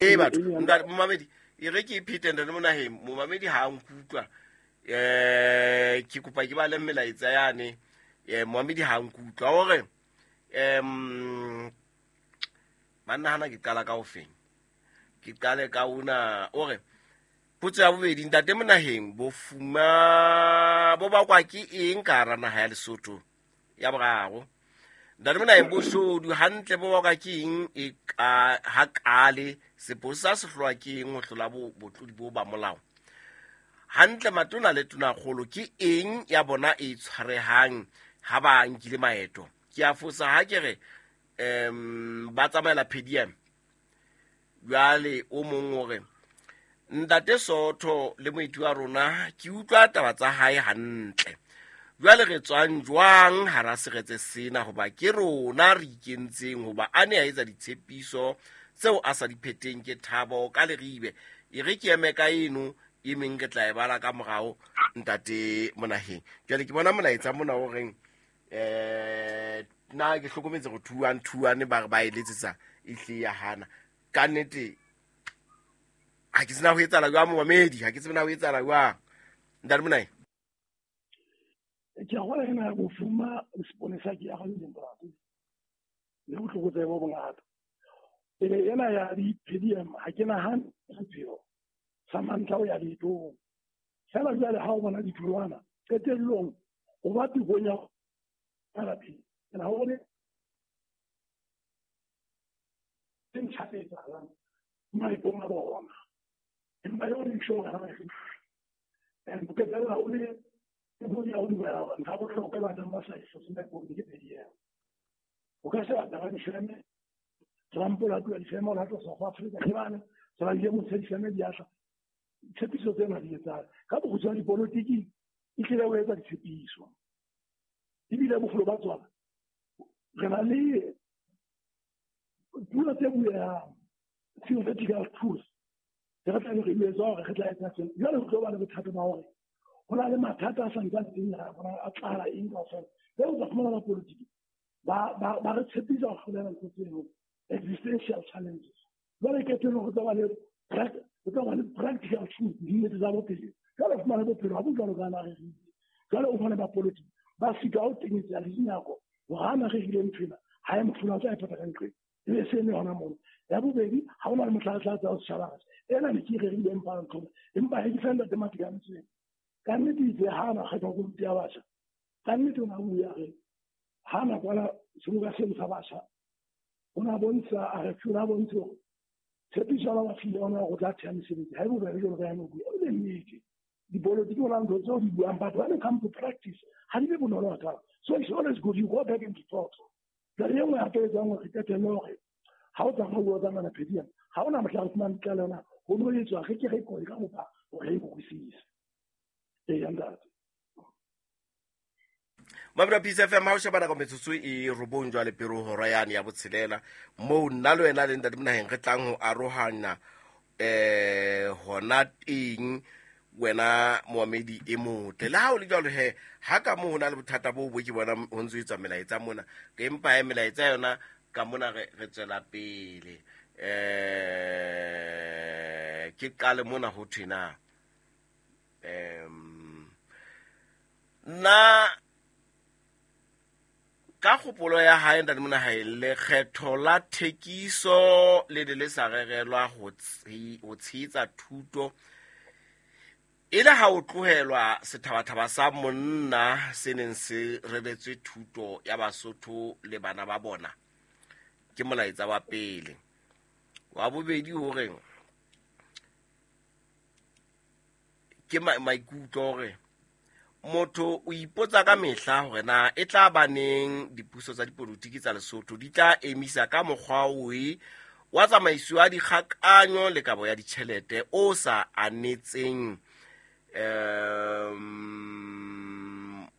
Ee batho, ntate momamedi, e re ke e phete ntate Monaheng, momamedi ha a nkutlwa. Ke kopa ke bale melaetsa yane. Momamedi ha a nkutlwa hore banna hana ke qala ka ofeng. Ke qale ka una o re potso ya bobedi ntate Monaheng bofuma bo bakwa ke eng ka hara naha ya Lesotho? Ya boraro ntate Monaheng boshodu hantle bo bakwa ke eng e ka ha kale sepolesa se hlolwa ke eng ho hlola botlodi bo ba molao? Hantle matona le tonakgolo ke eng ya bona e tshwarehang ha ba nkile maeto? Ke a fosa ha ke re ba tsamaela PDM. Jwale o mong o re ntate Sootho le moeti wa rona ke utlwa taba tsa hae hantle. Jwale re tswang jwang hara seretse sena hoba ke rona re ikentseng hoba a ne a etsa ditshepiso tseo a sa di pheteng ke Thabo ka Leribe. E re ke eme ka eno e meng re tla e bala ka morao ntate Monaheng. Jwale ke bona molaetsa mona o reng nna ke hlokometse go thuang thuane ba re ba e letsetsa e hle ya hana. Ka nnete ha ke tsena ho etsahala jwang momamedi, ha ke tsebe na ho etsahala jwang ntate Monaheng. Ke a gola ena ya bofuma le seponesa ke ya ga ntate le botlokotsebe bo bongata. Ebe ena ya di-PDM ha ke nahane sepheo sa mantlha o ya leetong. Fela jwale ha o bona ditholwana qetellong o ba tekong ya lapeng. Ke na bone tse ntjha tse etsahalang maetong a bona. Empa eo re isho hore ha ba e and o qetella o le tekong ya ho dumela hore ntho ya bohlokwa e batlang ba sa e hlotse maetong ke PDM. O ka sheba taba difeme, Trump o latola difeme, o latola South Africa, ke bane se ba ile motse difeme di atla. Tshepiso tsena di etsang ka bokgutshwane dipolotiki e tlile ho etsa ditshepiso. Ebile boholo ba tsona re na le puo tse bueang, theoretical truth, re tla be re jwetswa hore re tla etsa sena. Jwale ho tlo ba le bothata ba hore ho na le mathata a sa ntsane teng a bona a tlala eng kaofela. Jwale o tla fumana ba politiki ba re tshepisa ho hlolela ntho tseno, existential challenges. Jwale qetellong ho tla ba le ho tla ba le practical truth, dinnete tsa bophelo. Jwale o fumane bophelo ha bo jwalo ka na rerile. Jwale o fumane ba politiki ba sitwa ho tenyetsa le dinako hore ha na rerile ntho ena, ha e mohlolo a tla e phetha ka nqeng. E be se eme hona mono. Ya bobedi, ha hona le mohla re tla tsaya setjhaba re ena ne ke e rerile empa ntho empa he ke sa ntate Matikantseng. Ka nnete itse ha na kgethwa komiti ya batjha. Ka nnete o na bua re ha na kwala seboka seno sa batjha. O na bontsha a re o na bontsha hore tshepiso ba ba file yona hore o tla theha mesebetsi. Ha e bobebe jwalo ka ya no bua. E le nnete. Dipolotiki ho na ntho tseo di buang, but when it comes to practice, ha di be bonolo hakaalo. So it's always good you go back into thought. Jwale e nngwe hape e etsang hore qetelle hore ha o tsamaya o bua tsa ngwana phediana, ha hona mohla re fumane tlaleho na ho no etswa re ke re kole ka bophara hore re e utlwisise. Eya ntate. Mabura Peace FM ha o sheba nako metsotso e robong jwale pele ho hora yane ya botshelela moo nna le wena le ntate Monaheng re tlang ho arohana hona teng wena moamedi e motle. Le ha o le jwalo he ha ka moo ho na le bothata bo bo ke bona ho ntso etswa melaetsa mona, empa he melaetsa yona ka mona re tswela pele. Ke qale mona ho thwe na nna ka kgopolo ya hae ntate Monaheng, lekgetho la thekiso le ne le sa rerelwa ho tshehetsa thuto e le ha o tlohelwa sethabathaba sa monna se neng se reretswe thuto ya Basotho le bana ba bona. Ke molaetsa wa pele. Wa bobedi hore ke maikutlo hore motho o ipotsa ka mehla hore na e tla ba neng dipuso tsa dipolotiki tsa Lesotho di tla emisa ka mokgwa oe wa tsamaiso ya dikgakanyo le kabo ya ditjhelete o sa anetseng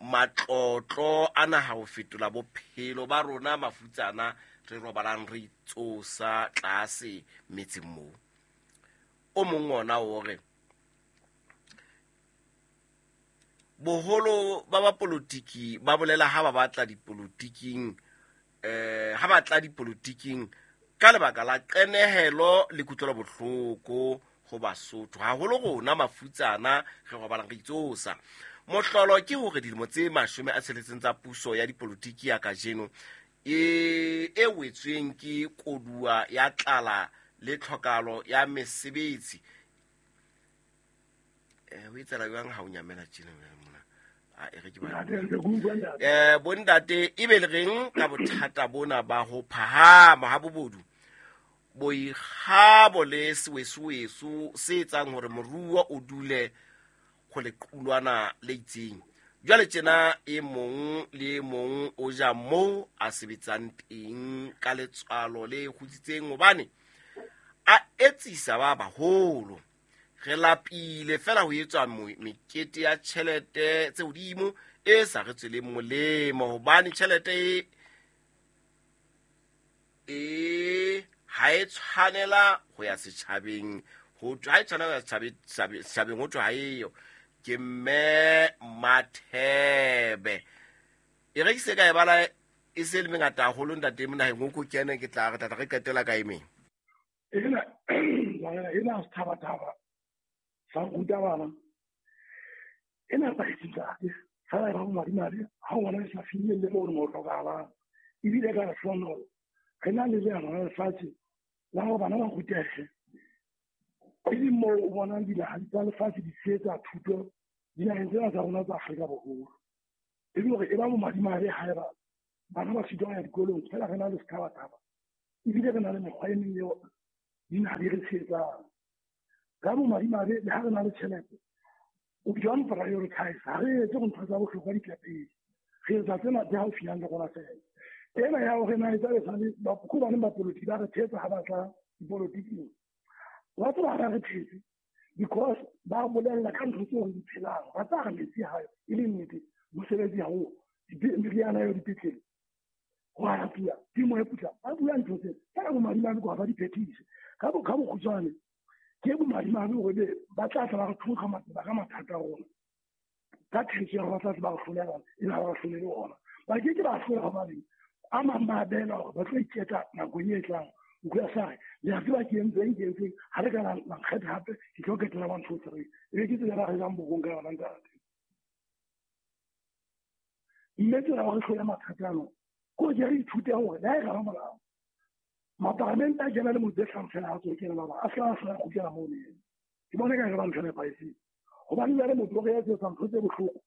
matlotlo a naha ho fetola bophelo ba rona mafutsana re robalang re itsosa tlase metseng moo. O mong ona o re boholo ba bapolotiki ba bolela ha ba batla dipolotiking ha ba tla dipolotiking Ka lebaka la qenehelo le kutlwelo bohloko ho Basotho, haholo rona mafutsana re robalang re itsosa. Mohlolo ke hore dilemo tse 60 tsa puso ya dipolotiki ya kajeno e wetsweng ke koduwa ya tlala le tlhokalo ya mesebetsi. Ho etsela jwang ha o nyamela tjena mona? A e re ke ba. Bontate e be le reng ka bothata bona ba ho phahama ha bobodu, boikgabo le sewesoweso se etsang hore moruo o dule ho lequlwana le itseng. Jwale tjena e mong le e mong o ja moo a sebetsang teng ka letswalo le kgutsitseng hobane a etsisa ba baholo. Re lapile fela ho etswa mekete ya tjhelete tse hodimo e sa re tsweleng molemo hobane tjhelete e ha e tshwanela ho ya setjhabeng, ho ha e tshwanela ho ya setjhabeng ho thwe ha eyo. Ke mme Mathebe. E re ke se ka e bala e se le mengata haholo ntate Monaheng, o ko kene ke tla re tla re qetela ka e meng. Ena ena sethabathaba sa ruta bana ena ntate fela e ba bomadimabe ha o bona e sa finyelle moo mo hlokahalang, ebile ka lehlohonolo re na le leano la lefatshe la hore bana ba rutehe, e leng moo o bonang dinaha tsa lefatshe di tshehetsa thuto dinaheng tsena tsa rona tsa Afrika Borwa. E le hore e ba bomadimabe haeba bana ba sitwa ho ya dikolong, fela re na le sethabathaba ebile re na le mekgwa e meng eo dinaha di re tshehetsang. Ka bomadimabe le ha re na le tjhelete, o don't prioritize, ha re etse ntho tsa bohlokwa di tla pele, re etsa tsena tse haufinyane le rona fela. Ena ya hore na etsa lesale ko baneng ba polotiki ba re thetsa ha ba tla dipolotiking, wa tseba ha ba re thetse because ba bolella ka ntho tseo re di phelang, ba tsa re metsi hayo e le nnete, mosebetsi ha o, meriana eo dipetlele ho a pula, temo e putla, ba bua ntho tse fela bomadimabe ko ha ba di phethise. Ka bokgutshwane ke bomadimabe hore ba tla tla ba re thonkga matseba ka mathata a rona ka thetso ya hore ba tla tla ba re hlolela, e ba re hlolele ona. Ba ke ke ba hlola hobane a mang ba beela hore ba tlo iketla nakong e tlang. O ka sa re le a tseba ke entseng ha re ka la nkgetha hape ke tlo ketela 1 2 3, e be ke tsela ba re jang bokong ka yona ntate. Mme tsela ya hore hlole mathata ano ko ke re ithute hore le ha e ka ba molao maparamente a kena le motse hlano fela ha tswe kena ba a se a kgutlela moo neng. Ke bona ka re ba ntho e nepahetseng hobane jwale motho o re etsetsa ntho tse bohloko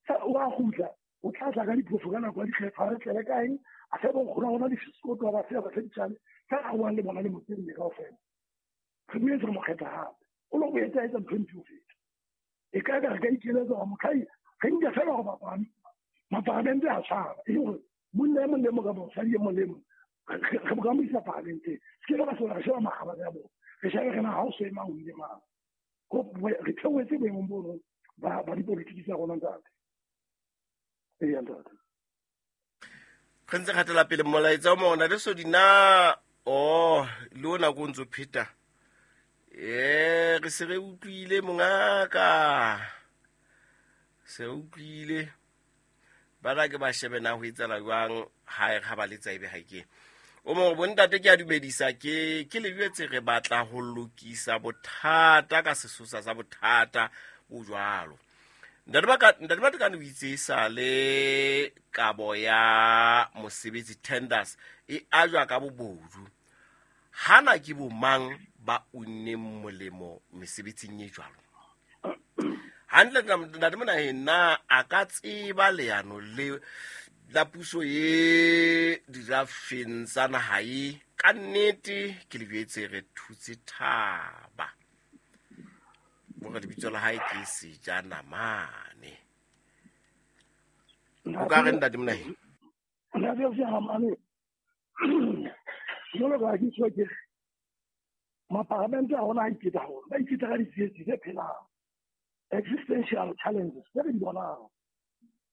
o a kgutla, o tla tla ka diphoso ka nako ya dikgetho, ha re tlele kaeng a se bonkgono rona disekoto ba se ba se ditjale tsa a buang le bona le motse nne kaofela. Re boetse re mo kgetha hape, o lo boetse a etsa ntho e mpe ho feta. E ka ka re ka ikeletsa hore motlhai re nke fela hore maparamente a tshwana, e le hore monna e mong le mong kapa mosadi e mong le mong re mo ka mo isa paramenteng. Se ke ba sola re sheba makgabane a bona, re shebe re na ha o so emang ho ile mang. Re theohetse boemong bono ba dipolotiki tsa rona ntate. Eya ntate. Re ntse kgatela pele molaetsa o mona le sodina o le ona ko ntso pheta. Re se re utlwile mongaka. Se utlwile. Ba ra ke ba shebe na ho etsala jwang ha e ha ba letsa ebe ha ke. O mong bontate ke a dumedisa ke le jwetse re batla ho lokisa bothata ka sesosa sa bothata bo jwalo. Ntate Matekane o itse sa le kabo ya mosebetsi tenders e ajwa ka bobodu. Hana ke bomang ba unneng molemo mesebetsing e jwalo? Hantle ntate Monaheng na a ka tseba leano le la puso e dirafeng tsa naha e? Ka nnete ke le jwetse re thutse thaba. Bora lebitso la hae ke Sejanamane. O ka re ntate Monaheng? Ntate Sejanamane, jwalo ka ke tswa ke maparamente a rona a iketsa haholo, ba iketsa ka ditsietsi tse phelang, existential challenges tse re di bonang.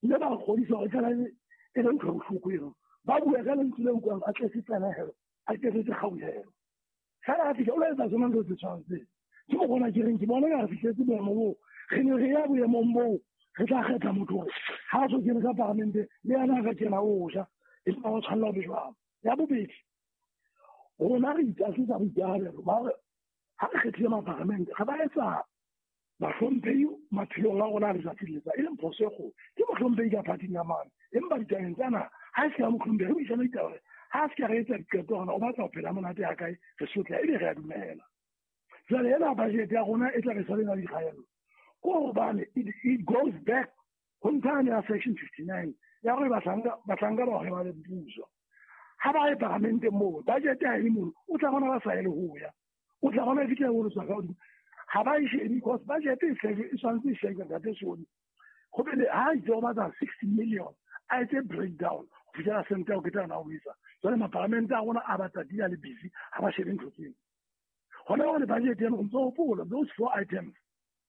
Mme ba re kgodisa hore fela e le ntho e bohloko eno. Ba bua ka lentswe le utlwang a tletse tsenehelo, a tletse kgauhelo. Fela a fihla o lo etsa tsona ntho tse tshwanang tseo. Ke mo bona ke reng ke bona ka re fihletse boemo boo, re ne re ya boemong boo re tla kgetha motho hore ha a so kene ka paramente le yena a ka kena o ja, empa wa tshwanela ho be jwalo. Ya bobedi, Rona re itlasetsa boikarabelo ba hore ha re kgethile maparamente re ba etsa bahlomphehi maphelong a rona a letsatsi le letsatsi, e leng phoso e kgolo. Ke mohlomphehi ka phathing ya mane, empa ditabeng tsa naha ha e se ka mohlomphehi, re buisane ditaba hore ha a se ka re etsa diqeto hore o batla ho phela monate ha kae, re sotleha ebe re a dumela. Jwale ena budget ya rona e tla be sa le na le dikgaello ko hobane it goes back ho nthane ya section 59 ya gore bahlanka ba hweba le puso. Ha ba ye paramenteng moo budget ha e le mono, o tla bona ba sa ye le ho ya, o tla bona e fitlha ho tswa ka hodimo. Ha ba e shebe because budget e tshwanetse e shebe ntate Soni. Go be le ha itse o batla 60 million, a etse breakdown ho fihlela sente ya ho ketana o etsa. Jwale maparamente a rona a batla di a le busy, ha ba shebe ntho tseno. Hona jwale budget ena o ntso hopola those four items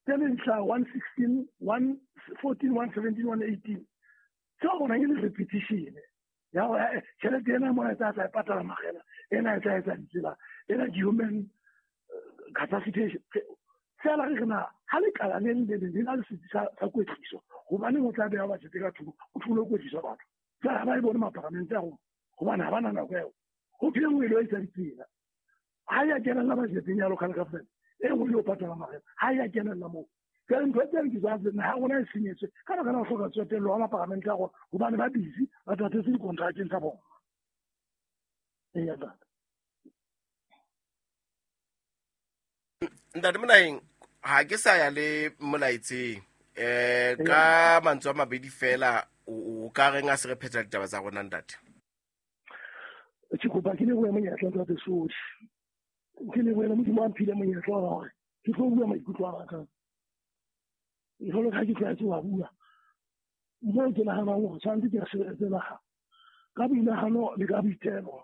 tse leng hlaha 116, 114, 117, 118. Tseo bonang e le repetition ya hore tjhelete ena mona e tla tla e patala makgela, ena e tla etsa ditsela, ena ke human capacitation. Fela re re na ha lekala le leng le leng le na le setsi sa kwetliso, hobaneng o tla beha budget ka thoko o thole ho kwetlisa batho? Jwale ha ba e bone maparamente a rona hobane ha ba na nako eo. Ho thwe e nngwe e lo etsa ditsela, ha ya kenella budgeteng ya local government, e nngwe e lo patala makgela, ha ya kenella moo. Jwale ntho tse ke tsa naha rona e senyetswe ka baka la ho hloka tsotello ha maparamente a rona, hobane ba busy ba tatetse dikontrakeng tsa bona. Eya ntate. Ntate Monaheng, ha ke sa ya le molaetseng ka mantswe a mabedi fela, o ka reng a se re phetha ditaba tsa rona ntate? Ke kopa ke lebohe monyetla ntate Sodi. Ke lebohe Modimo a mphile monyetla wa hore ke tlo bua maikutlo a ka. Jwalo ka ha ke tlwaetse ho bua, moo ke nahanang hore tshwanetse ke re sebeletse naha ka boinahano le ka boitelo,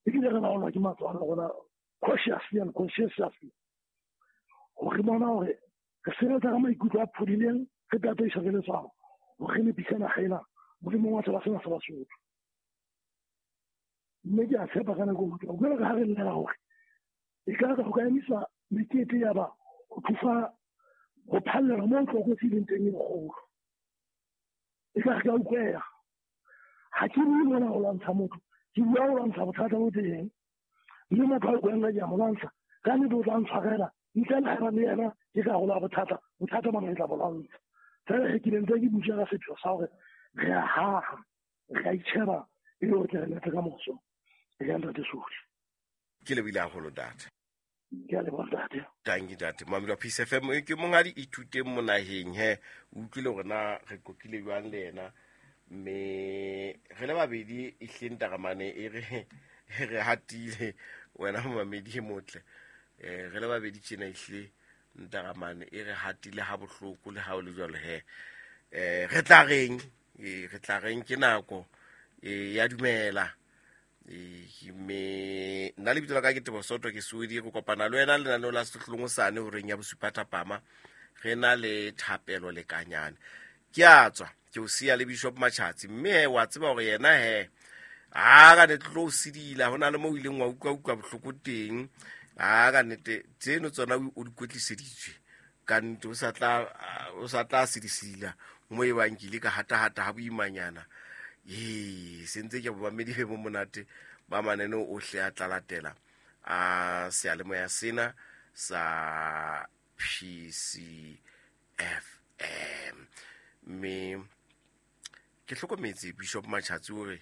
ebile re laolwa ke matswalo a rona cautiously and conscientiously, hore re bona hore re sebetsa ka maikutlo a phodileng, re tataiswa ke letswalo hore re nepise naha ena molemong wa setjhaba sena sa Basotho. Mme ke a tshepa ka nako e nngwe, jwalo ka ha re llela hore e ka ho ka emisa mekete ya ba ho thusa ho phallela moo tlokotsi e leng teng e kgolo. E ka re ka utlweha. Ha ke bue mona ho lwantsha motho, ke bua ho lwantsha bothata bo teng. Mme motho a utlwang ke a mo lwantsha, ka nnete o tla ntshwarela, ntle le haeba le yena ke karolo ya bothata, bothata bona ke tla bo lwantsha. Fela he ke ne ntse ke bua ka sepheo sa hore re a haha, re a itjheba e le hore tle re letse ka moso. E ya ntate Sodi. Ke lebohile haholo ntate. Ke a leboha ntate. Tanki ntate. Mamedi wa Peace FM, ke monghadi Ithuteng Monaheng he. O utlwile hore na re qoqile jwang le yena, mme re le babedi e hleng taramane e re hatile wena momamedi e motle. Re le babedi tjena ehlile ntaramane e re hatile ha bohloko le ha o le jwalo he. Re tla reng? Re tla reng ke nako ya dumela. Mme nna lebitso la ka ke Teboho Soto, ke Sodi. Re kopana le wena lenaneo la Sehlohlolong hosane horeng ya bosupa thapama, re na le thapelo lekanyane. Ke a tswa ke o siya le Bishop Machatsi, mme he wa tseba hore yena he a ka ne tlo o sidila, ho na le moo o ileng wa utlwa bohloko teng. A ka nnete tseno tsona o di kwetliseditswe ka nnete, o sa tla sidisila mo e bang ke ile ka hatahata ha boimanyana. Se ntse ke bomamedi be bo monate ba mananeo ohle a tla latela a seyalemoya sena sa PCFM. Mme ke hlokometse Bishop Machatsi hore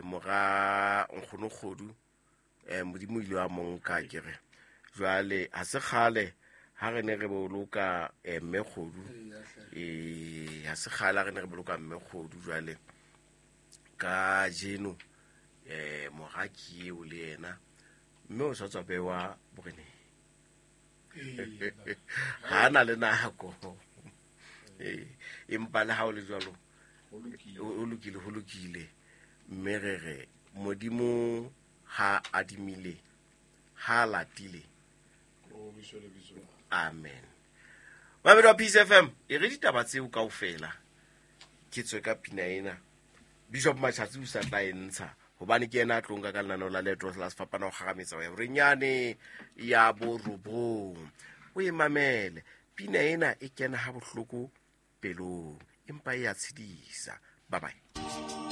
mora nkgono Kgodu, Modimo ile wa mo nka ke re. Jwale ha se kgale ha re ne re boloka mme Kgodu, ha se kgale ha re ne re boloka mme Kgodu. Jwale ka jeno mora ke eo le yena, mme o sa tswa bewa boreneng, ha na le nako. Empa le ha o le jwalo o lokile, ho lokile. Mme re re Modimo ha adimile, ha latile. Amen. Mamedi wa Peace FM, e re ditaba tseo kaofela ke tswe ka pina ena. Bishop Machatsi o sa tla e ntsha hobane ke yena a tlo nka ka lenaneo la leeto la sefapano ho kgarametsa ho ya horeng ya borobong. O e mamele pina ena, e kena ha bohloko pelong, empa e a tshedisa. Bye bye.